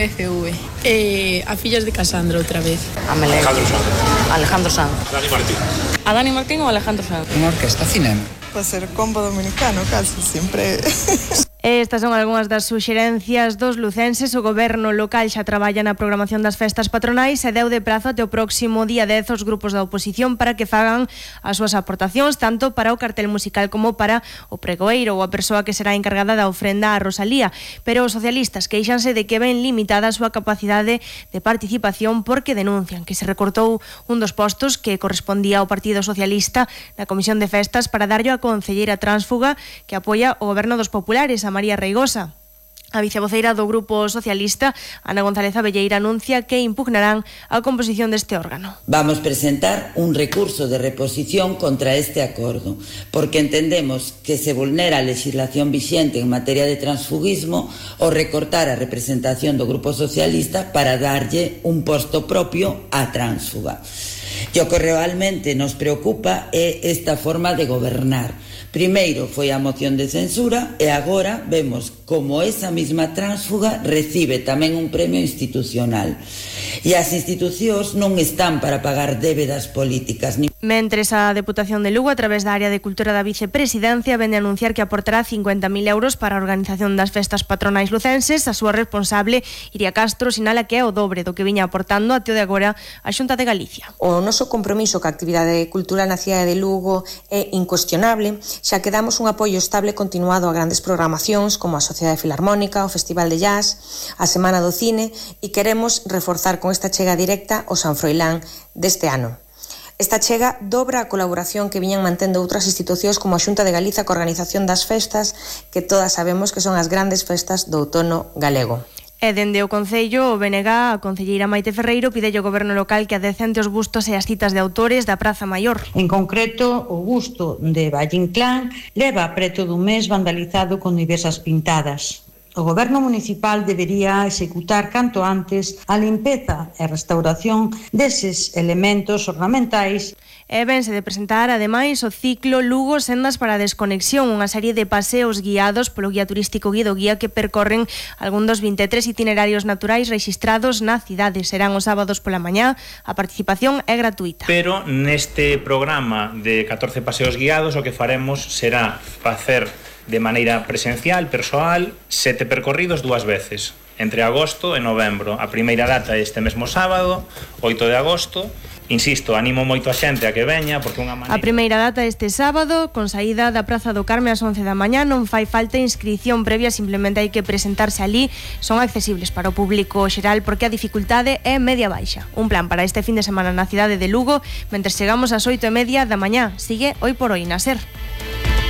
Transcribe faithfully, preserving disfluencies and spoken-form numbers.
F V. Eh, a fillas de Casandra outra vez. A Melén. Alejandro Sanz. Alejandro Sanz. Dani Martín. A Dani Martín ou Alejandro Sanz? Unha orquesta cinema. Pode ser combo dominicano, casi, sempre. Estas son algunhas das suxerencias dos lucenses. O goberno local xa traballa na programación das festas patronais e deu de prazo até o próximo día dez aos grupos da oposición para que fagan as súas aportacións, tanto para o cartel musical como para o pregoeiro ou a persoa que será encargada da ofrenda a Rosalía. Pero os socialistas queixanse de que ven limitada a súa capacidade de participación porque denuncian que se recortou un dos postos que correspondía ao Partido Socialista na Comisión de Festas para darlle a concelleira tránsfuga que apoia o goberno dos populares, a María Reigosa. A vicevoceira do Grupo Socialista, Ana González Abelleira, anuncia que impugnarán a composición deste órgano. Vamos presentar un recurso de reposición contra este acordo, porque entendemos que se vulnera a legislación vixente en materia de transfugismo o recortar a representación do Grupo Socialista para darlle un posto propio á tránsfuga. E o que realmente nos preocupa é esta forma de gobernar. Primeiro foi a moción de censura e agora vemos como esa mesma tránsfuga recibe tamén un premio institucional. E as institucións non están para pagar débedas políticas. Mentres a Deputación de Lugo, a través da área de cultura da vicepresidencia, vende a anunciar que aportará cincuenta mil euros para a organización das festas patronais lucenses. A súa responsable, Iria Castro, sinala que é o dobre do que viña aportando até o de agora a Xunta de Galicia. O noso compromiso ca actividade cultural na cidade de Lugo é incuestionable, xa que damos un apoio estable e continuado a grandes programacións como a Sociedade Filarmónica, o Festival de Jazz, a Semana do Cine, e queremos reforzar con esta chega directa o San Froilán deste ano. Esta chega dobra a colaboración que viñan mantendo outras institucións como a Xunta de Galiza coa organización das festas, que todas sabemos que son as grandes festas do outono galego. E dende o Concello, o B N G, a concelleira Maite Ferreiro pide ao goberno local que adecente os bustos e as citas de autores da Praza Maior. En concreto, o busto de Valle Inclán leva preto dun mes vandalizado con diversas pintadas. O goberno municipal debería executar canto antes a limpeza e restauración deses elementos ornamentais. E vense de presentar, ademais, o ciclo Lugo Sendas para a Desconexión, unha serie de paseos guiados polo guía turístico Guido Guía que percorren algún dos vinte e tres itinerarios naturais rexistrados na cidade. Serán os sábados pola mañá, a participación é gratuita. Pero neste programa de catorce paseos guiados o que faremos será facer de maneira presencial, persoal, sete percorridos dúas veces, entre agosto e novembro. A primeira data é este mesmo sábado, oito de agosto. Insisto, animo moito a xente a que veña porque unha maneira... A primeira data este sábado, con saída da Praza do Carme ás once da mañá, non fai falta inscrición previa, simplemente hai que presentarse ali. Son accesibles para o público xeral porque a dificultade é media baixa. Un plan para este fin de semana na cidade de Lugo, mentres chegamos ás oito e media da mañá. Sigue Hoy por Hoy na SER.